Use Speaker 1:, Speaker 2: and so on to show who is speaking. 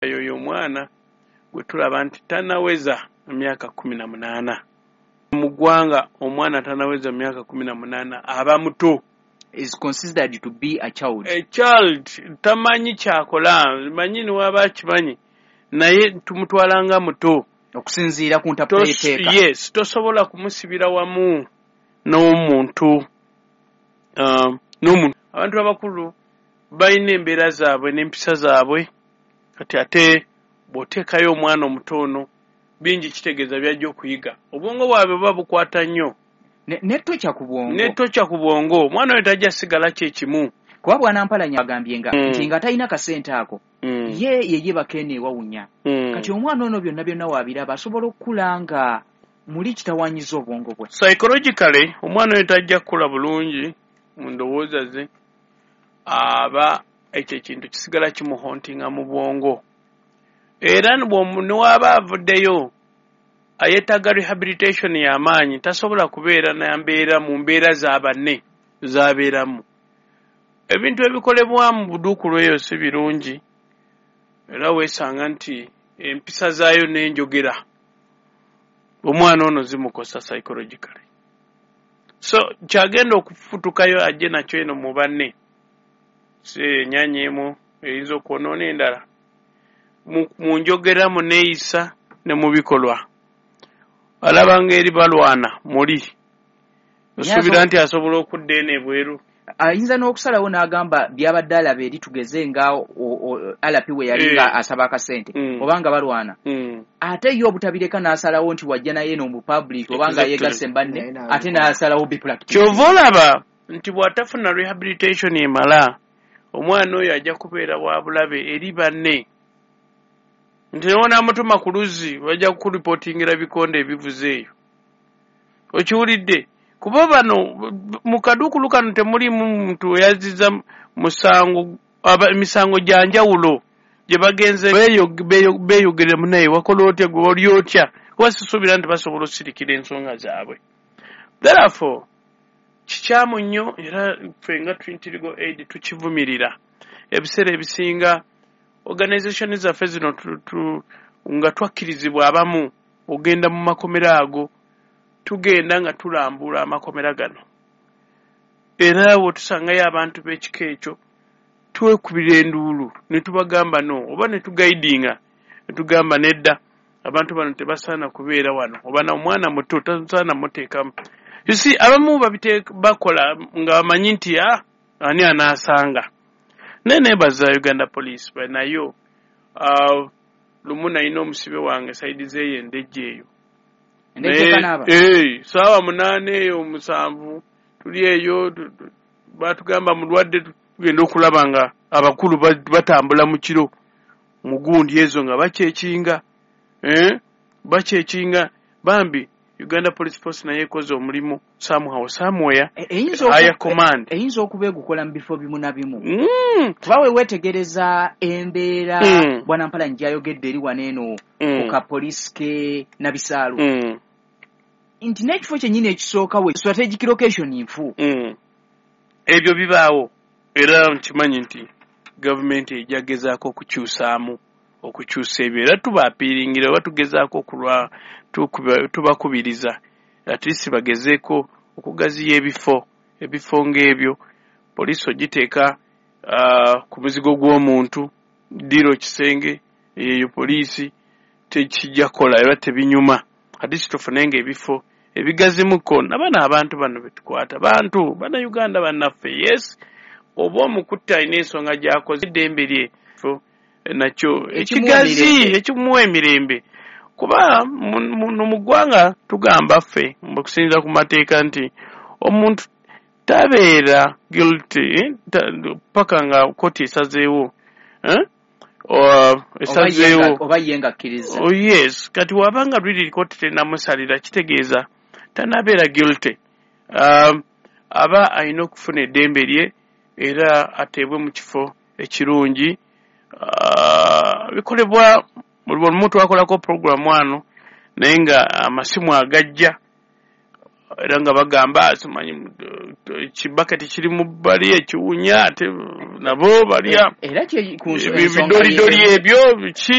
Speaker 1: Yoyo omwana gwe tulaba nti tanaweza myaka 18 mu ggwanga. Omwana tanaweza myaka 18 aba muto.
Speaker 2: Is considered to be a child.
Speaker 1: A child, tamanyi kyakola, manyi niwaba akimanyi, naye tumutwala nga muto.
Speaker 2: Okusinziira ku ntaputa y'etteeka.
Speaker 1: Yes, tosobola kumusibira wamu n'omuntu n'omuntu. Abantu abakulu balina embeera zaabwe n'empisa zaabwe. Kati ate bw'oteekayo omwana omuto ono, bingi kitegeeza byajja okuyiga. Obwongo bwabwe buba bukwata nnyo.
Speaker 2: Netokya ku bwongo.
Speaker 1: Netokya ku bwongo. Omwana oyo tajja sigala kyekimu.
Speaker 2: Kuba bwanampalanya agambye nga nti nga talina kasente ako, ye yeyebaka eno ewawunya. Kati omwana ono byonna byonna waabiraba, asobola okukula nga muli kitawanyiza obwongo bwe.
Speaker 1: Psychologically, omwana oyo tajja kukula bulungi mu ndowooza ze. Aba ekyo ekintu kisigala kimuhauntinga mu bwongo. Era newaaba avuddeyo, ayeetaaga rehabilitation y'amaanyi. Tasobola kubeera nambeera mu mbeera za banne z'abeeramu. Ebintu ebikolebwa mu buduukulu eyo si birungi, era weesanga nti empisa zaayo n'enjogera omwana ono zimukosa psychologically. So kyagenda okufutukayo ajje nakyo eno mu banne, si ennyanya emu eyinza okwonoona endala mu njogera, mu neeyisa ne mu bikolwa. Alaba ng'eri balwana muli, osuubira nti asobola okudda eno ebweru?
Speaker 2: Ayinza n'okusalawo n'agamba byabadde alaba eri, tugeze nga alapi we yali nga asaba akasente oba nga balwana, ate ye obutabireka n'asalawo nti wajja naye eno mu public oba nga yeegasse banne, ate n'asalawo bipractice.
Speaker 1: Kyova olaba nti bw'atafuna rehabilitation emala, omwana oyo ajja kubeera wa bulabe eri banne, nti newonaamutuma ku luzzi bajja kukuripootingira bikonde ebivuze eyo. Okiwulidde? Kuba bano mu kaduukulu kano temulimu muntu eyazizza musango, emisango gya njawulo gye bagenze beeyogerera munaye, wakola otya gwe, oli otya? Kuba sisuubira nti basobola osirikira ensonga zaabwe. Therefore kikyamu nnyo, era ffe nga Trinity Legal Aid tukivumirira. Ebiseera ebisinga organization zaffe zino nga twakkirizibwa abamu ogenda mu makomera ago, tugenda nga tulambula amakomera gano, era we tusangayo abantu b'ekika ekyo twekubira enduulu ne tubagamba no, oba ne tuguidinga ne tugamba nedda, abantu bano tebasaana kubeera wano, oba na omwana muto tasaana muteekamu. You see, abamu bakola nga bamanyi nti ani anaasanga. Naye neebaza Uganda Police nayo. Lumu nalina omusibe wange side zeeyo Endejje eyo.
Speaker 2: Endejje Kanaaba.
Speaker 1: Saawa 8 eyo 7 tuli eyo, batugamba mulwadde. Tugenda okulaba nga abakulu batambula mu kiro mu gundi ezo nga bakyekinga, bakyekinga. Bambi Uganda Police Force naye ekoze omulimu somehow, somewhere. Higher command.
Speaker 2: Eyinza okuba egukola mu bifo bimu na bimu, kuba we weetegereza embeera bwana Mpalanyi gyayogedde eri wano eno ku kapoliisi ke Nabisaalu, nti n'ekifo kyennyini ekisooka we strategic location nfu.
Speaker 1: Ebyo bibaawo, era nkimanyi nti gavumenti ejja gezaako okukyusaamu, okukyusa ebyo, era tubaappealingira oba tugezaako okulwa tubakubiriza at least bagezeeko okugaziya ebifo ng'ebyo. Poliisi ogiteeka ku muzigo gw'omuntu, ddiiro, kisenge eyo poliisi tekijja kukola era tebinyuma. At least tufunenga ebifo ebigazimuko nabano abantu bano betukwata, bantu Bannayuganda bannaffe. Yes, oba omukutte alina ensonga gy'akoze, eddembe lye nakyo ekigazi ekimuwa emirembe, kuba muno mu ggwanga tugamba ffe okusinziira ku mateeka nti omuntu tabeera guilty paka nga kooti esazeewo, esazeewo.
Speaker 2: Oba ye nga akkiriza.
Speaker 1: Oh yes, kati wabanga really kooti tenamusalira, kitegeeza tanabeera guilty. Aba alina okufuna eddembe lye era ateebwe mu kifo ekirungi. Bikolebwa buli lumu, twakolako program wano, naye nga amasimu agajja Era nga bagamba simanyi kibaketi kiri mu bbali ekiwunya, ate nabo balya
Speaker 2: Era
Speaker 1: ebidolidoli ebyo biki.